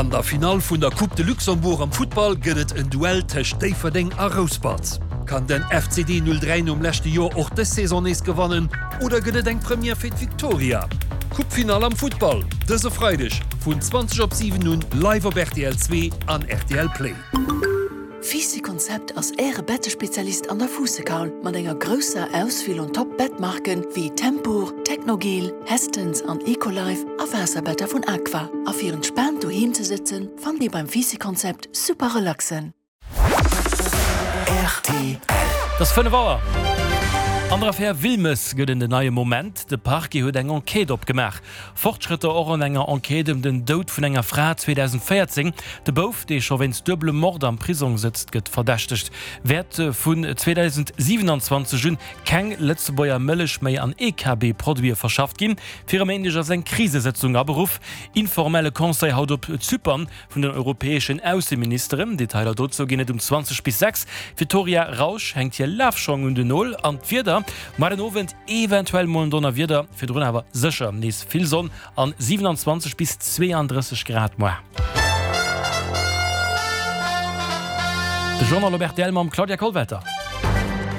An der Finall vun der Coupe de Luxembourg am Futtball gëtt et en Duell tëscht Déifferdeng a Rouspert. Kann den FCD 03 nom leschte Joer och dës Saison nees gewannen oder gëtt et eng Première fir d'Victoria? Coupe-Finall am Futtball dëse Freideg vun 20 op 7 un live op rtl 2 an rtl Play. Fisi Konzept ass Äre Bettespezialist an der Fuussekaul mat enger grousser Auswiel un Top Bettmarken wéi Tempur, Technogel, Hästens an Ecolife a Waasserbetter vun Aqua. A fir entspaant doheem ze sëtzen, fannt Dir beim Fisi Konzept super Relaxen. Rtl. Et ass 5 Auer. An der Affär Wilmes gëtt en den neie Moment. De Parquet huet eng Enquête opgemaach. Fortschrëtter och an enger Enquête ëm den Doud vun enger Fra 2014. De Bouf, dee scho wéinst duebelem Mord am Prisong sëtzt, gëtt verdächtegt. Wäert vun 2027 un keng Lëtzebuerger Mëllech méi an EKB-Produite verschafft ginn. Fir e Méindeg ass eng Krisesëtzung aberuff. Informelle Conseil haut op Zypern vun den europäeschen Ausseministeren. Detailer dozou ginn et um 20 bis 6. D'Victoria Rausch hänkt hir Lafschong un den Nol an d'Wieder mar den Owend eventuell mol en Donnerwieder, virdrun awer sécher nees vill Sonn an 27 bis 32 Grad moar. De Journal op rtl mam Claudia Kollwelter.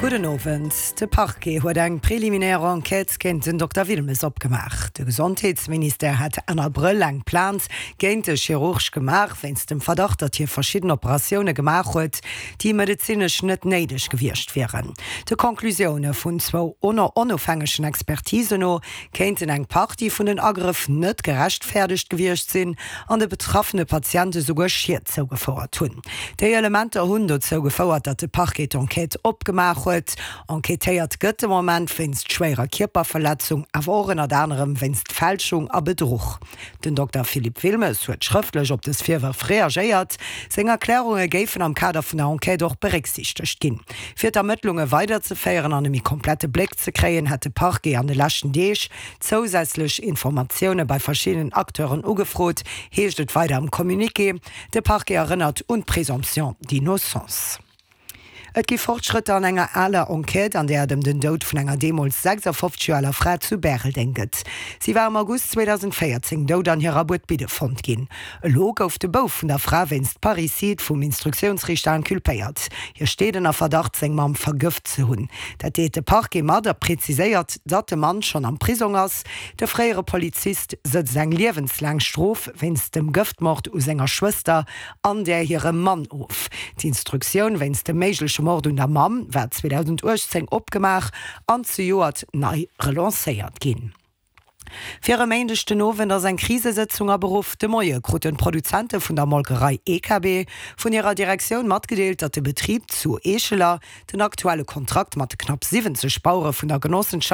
Gudden Owend. De Parquet huet eng preliminaire Enquête géint den Dokter Wilmes opgemaach. De Gesondheetsministère hat Enn Abrëll eng Plainte géint de Chirurg gemaach, wéinst dem Verdacht, datt hie verschidden Operatioune gemaach huet, déi medezinesch net néideg gewiescht wieren. De Conclusioune vun zwou onofhängegen Expertisen no kéinten eng Partie vun den Agrëff net gerechtfäerdegt gewiescht sinn an de betraffene Patiente souguer Schied zougefouert hunn. Déi Elementer hunn dozou gefouert, datt de Parquet d'Enquête opgemaach huet. Enquêtéiert gëtt de Moment wéinst schwéierer Kierperverletzung, awer och ënnert anerem wéinst Fälschung a Bedruch. Den Dokter Philippe Wilmes huet schrëftlech op dës Virwërf reagéiert. Seng Erklärunge géifen am Kader vun der Enquête och berécksiichtegt ginn. Fir d'Ermëttlunge weiderzeféieren an e méi komplette Bléck ze kréien, hätt de Parquet an de leschten Deeg zousätzlech Informatioune bei verschiddenen Acteuren ugefrot, heescht et weider am Communiqué. De Parquet erënnert un d'Présomption d'innocence. Et gi Fortschrëtter an enger aler Enquête, an där et ëm den Doud vun enger deemools 56 Joer aler Fra zu Bäreldeng gëtt. Si war am August 2014 dout an hirer Buedbidde fonnt ginn. Elo gouf de Bouf vun der Fra wéinst Parricide vum Instruktiounsriichter inculpéiert. Hie steet ënner Verdacht, seng Mamm vergëft ze hunn. Dat deelt de Parquet mat a preziséiert, datt de Mann schonn am Prisong ass. De fréiere Polizist sëtzt eng liewenslaang Strof wéinst dem Gëftmord u senger Schwëster an där hirem Mann of. D'Instruktioun wéinst dem méigleche Mord un der Mamm war 2018 opgemaach an zejoert nei relancéiert ginn. Fir e Méindeg den Owend ass eng Krisesëtzung aberuff. De Moie kruten d'Produzente vun der Molkerei EKB vun hirer Direktioun matgedeelt, datt de Betrib zu Eescheler den aktuelle Kontrakt mat de knapp 70 Bauere vun der Genossenschaft.